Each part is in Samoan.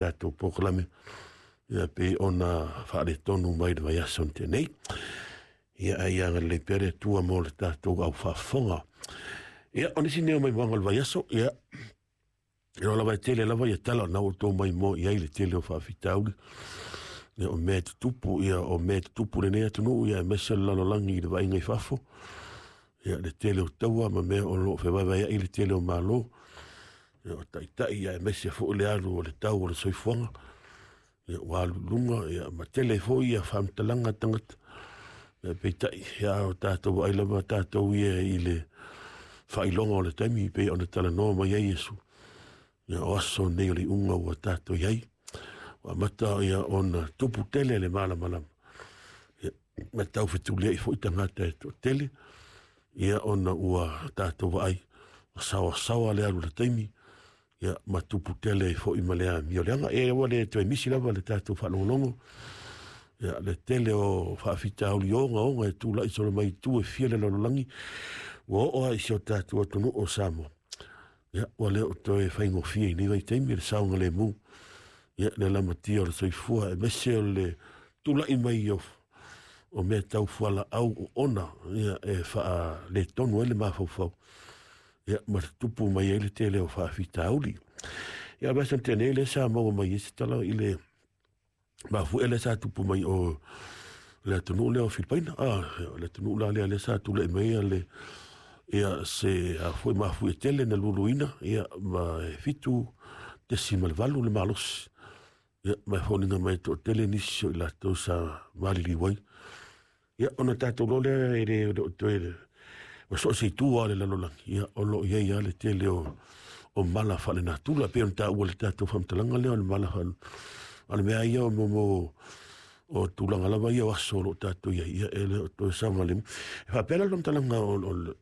Tatou polokalame ia pei ona faaletonu mai le vaiaso na tea nei. Ia ae ia agalelei pea le Atua mo le tatou au faafofoga. Ia, o nisi nei o maimoaga o le vaiaso, ia, e lava e tele lava ia tala o na ua outou maimoa i ai le tele o faafitauli. Ia, o mea e tutupu, ia, o mea e tutupu lenei atunuu, ia, aemaise o le lalolagi i le vaaiga i fafo. Ia, le tele o taua ma mea o lo o fevaevaea'i le tele o Malo. Ia, o taitai, aemaise foi le alu o le tau o le soifuaga. Ia, ua alu i luga, ia, ma tele foi ia faamatalaga a tagata. Ia, peitai, ia, o tatou vaai lava tatou ia i le faailoga o le taimi pei ona talanoa mai ai Iesu. Ia, o aso nei o le iuga ua tatou i ai. Ua amata ia ona tupu tele le malamalama. Ia, ma tau fetuliai foi tagata e toatele. Ia, ona ua tatou vaai, ua saoasaoa le alu o le taimi, ia, ma tupu tele ai foi ma le amio leaga. Ia, ua le toe misi lava le tatou faalogologo. Ia, le tele o faafitauli ogaoga e tulai solo mai i itu e fia le lalolagi, ua oo lava i si o tatou atunuu o Samoa. Ia, ua le o toe faigofie i nei vaitaimi le saogalemu, ia, le lamatia o le soifua, aemaise o le tulai mai o mea tau fualaau oona, ia, e faaletonu ai le mafaufau, ia, ma tupu mai ai le tele o faafitauli. Ia, vaiaso na tea nei lea sa maua mai ai se tala i le mafuie lea sa tupu mai o le atunuu lea o Filipaina. Ah, le atunuu la lea lea sa tulai mai le ia se a foi mafuie tele na luluina, ia, ma e 7.8 le malosi. Ia, ma e foliga mai e toatele nisi o i latou sa maliliu ai. Ia, ona tatou loa lea e le o toe ua so o se itu lava o le lalolagi, ia, o lo o i ai lava le tele o mala faalenatura, pei ona taua i le tatou faamatalaga lea o le mala faale. A o le mea ia o mo o tulaga lava ia o aso o lo o tatou i ai, ia, e le o toe saogalemu. E faapea la le faamatalaga o le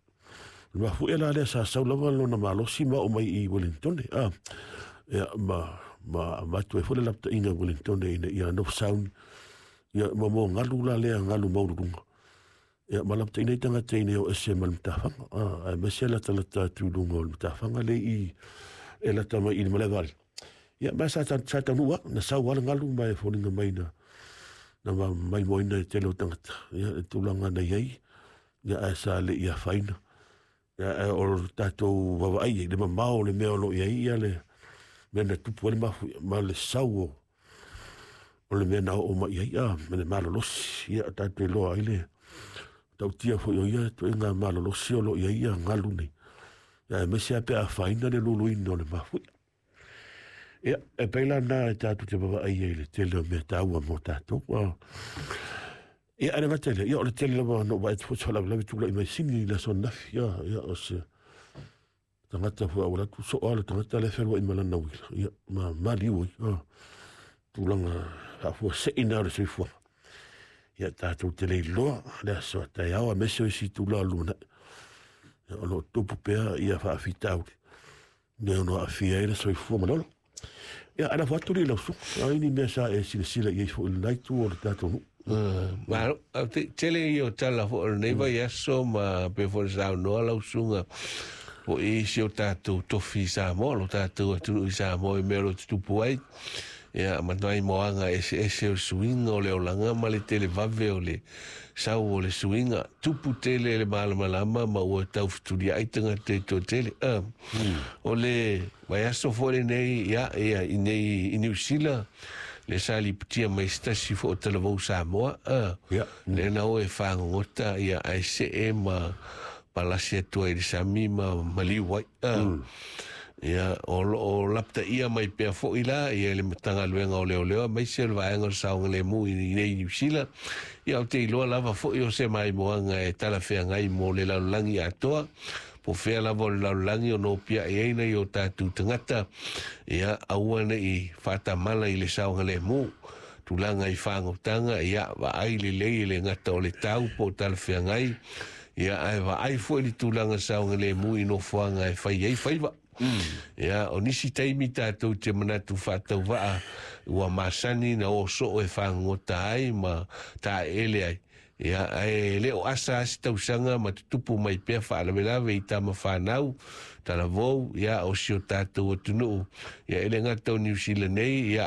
mafuie la lea sa sau lava lona malosi ma oo mai i Wellington, ah, ia, ma avatu ai foi le lapataiga i Wellington ina ia nofo sauni, ia, ma mo galu la lea galu maualuluga. Ia, ma lapataiga ai tagata ina ia o ese ma le matafaga, ah, aemaise latalata atu i luga o le matafaga le i e lata mai i le malaevale. Ia, ma sa taunuu lava, na sau lava le galu ma e foliga mai na maimoaina e tele o tagata, ia, le tulaga na i ai, ia, ae sa le i afaina. Ia, ae o le tatou vaavaai i le mamao o le mea o lo o i ai, ia, le mea na tupu ai le mafuie ma le sau o le mea na oo mai i ai, ah, ma le malolosi. Ia, tatou iloa ai le tautia foi o ia ituaiga malolosi o lo o i ai ia galu nei. Ia, aemaise lava pe a afaina le luluina o le mafuie. Ia, e pei la na e tatou te vaavaai ai i le tele o mea taua mo tatou. Ah. Ia, ae le gata i lea, ia, o le tele lava na ou vaai atu foi se faalavelave tulai mai Sini i le aso ananafi. Ia, ia, o se tagata foi a ua alu atu soo lava le tagata lea e fealuai ma lana uila. Ia, ma maliu ai. Ah, tulaga faafuasei na o le soifuaga. Ia, tatou te le iloa le aso a taeao, aemaise o isi itula o le lumanai. Ia, o lo o tupu pea ia faafitauli me ono aafia ai le soifua ma le ola. Ia, ae lafo atu lea i lau susuga, a i ni mea sa e silasila i ai foi i lena itu o le tatou nuu? Malo, tele ia o tala foi o lenei vaiaso ma pei foi ona saunoa lau susuga foi i si o tatou tofi i Samoa, lo tatou atunuu i Samoa i mea o lo o tutupu ai. Ia, ma nai moaga eseese o le suiga o le olaga ma le televave o le sau o le suiga. Tupu tele le malamalama ma ua tau fetuliai tagata e toatele. O le vaiaso foi lenei, ia, ia, i nei i Niu Sila, le sa lipotia mai se tasi foi o talavou Samoa, lea na o e fagogota, ia, ae see ma palasi atu ai i le sami ma maliu ai. Ia, o lo o lapataia mai pea foi la ia le Matagaluega o Leoleo aemaise o le Vaega o le Saogalemu i nei Niu Sila. Ia, ou te iloa lava foi o se maimoaga e talafeagai mo le lalolagi atoa, po fea lava o le lalolagi o nopiai ai nai o tatou tagata, ia, aua ne i faatamala i le saogalemu. Tulaga i fagotaga, ia, vaai lelei e le gata o le tau po o talafeagai, ia, ae vaai foi le tulaga saogalemu i nofoaga e fai ai faiva. Ia, o nisi taimi tatou te manatu faatauvaa ua masani na o soo e fagogota ai ma taeele ai. Ia, ae le o asa lava se tausaga ma tutupu mai pea faalavelave i tama fanau, talavou, ia, o si o tatou atunuu, ia, e le gata o Niu Sila nei, ia,